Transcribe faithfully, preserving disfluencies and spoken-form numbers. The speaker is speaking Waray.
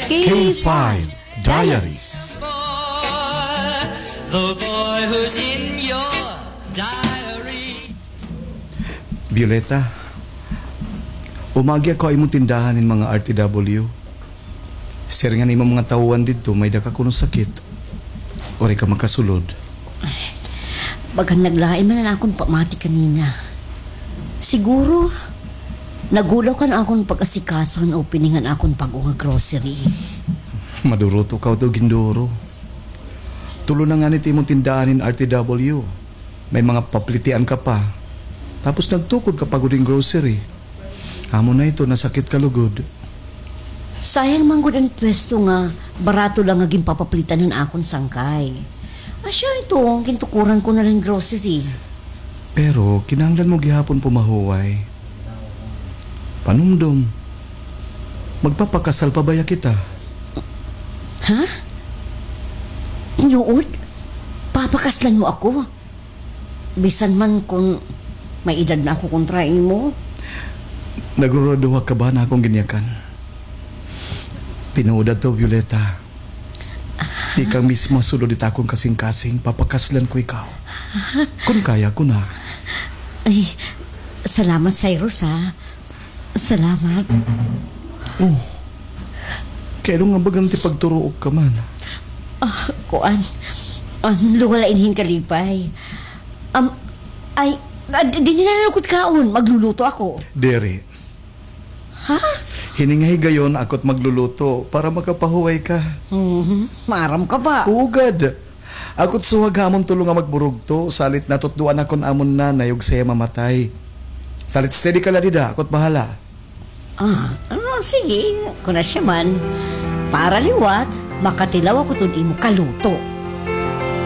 K five Diaries. The boy who's in your diary. Violeta, umagi ako ha imo tindahan hin mga R T W. Siring han imo mga tawhan didto, may-ada ka kuno sakit. Waray ka makasulod. Bagan naglain man an akon pamati kanina. Siguro, nagulaw kan akon pag-asikaso han opening han akon bag-o nga grocery. Maduruto ka, to ginduro. Tulo na ngani it imo tindahan hin R T W. May mga paplitian ka pa. Tapos nagtukod ka pa gud hin grocery. Amo na ito, nasakit ka lugod. Sayang man gud an pwesto nga barato la nga ginpapaplitan han akon sangkay. Asya ito, gintukuran ko na la hin grocery. Pero kinahanglan mo gihapon pumahuway. Panumdom. Magpapakasal pa baya kita? Ha? Tinuod? Papakaslan mo ako? Bisan man kon may edad na ako kontra imo? Nagruraduha ka ba han akon ginyakan? Tinuod adto, Violeta. Ikaw mismo sulod hit akon kasingkasing, papakaslan ko ikaw. Kon kaya ko na. Ay, salamat, Cyrus, ha. Salamat. Oh. Kay ano nga bagan ti pagturuok ka man? Ah, kuan. Um, luwala ini hin kalipay. Um, ay, ah, di, di na lukot kaon. Magluluto ako. Diri. Ha? Hini nga higayon, ako't magluluto para makapahuway ka. Mhm. Maaram ka ba? Ugad. Ako't suwag ha amon tulo nga magburugto, salit natutdoan ako han amon nanay ug siya mamatay. Salit steady ka la dida, ako't bahala. Ah, ah, sige, kon asya man. Para liwat, makatilaw ako tun imo kaluto.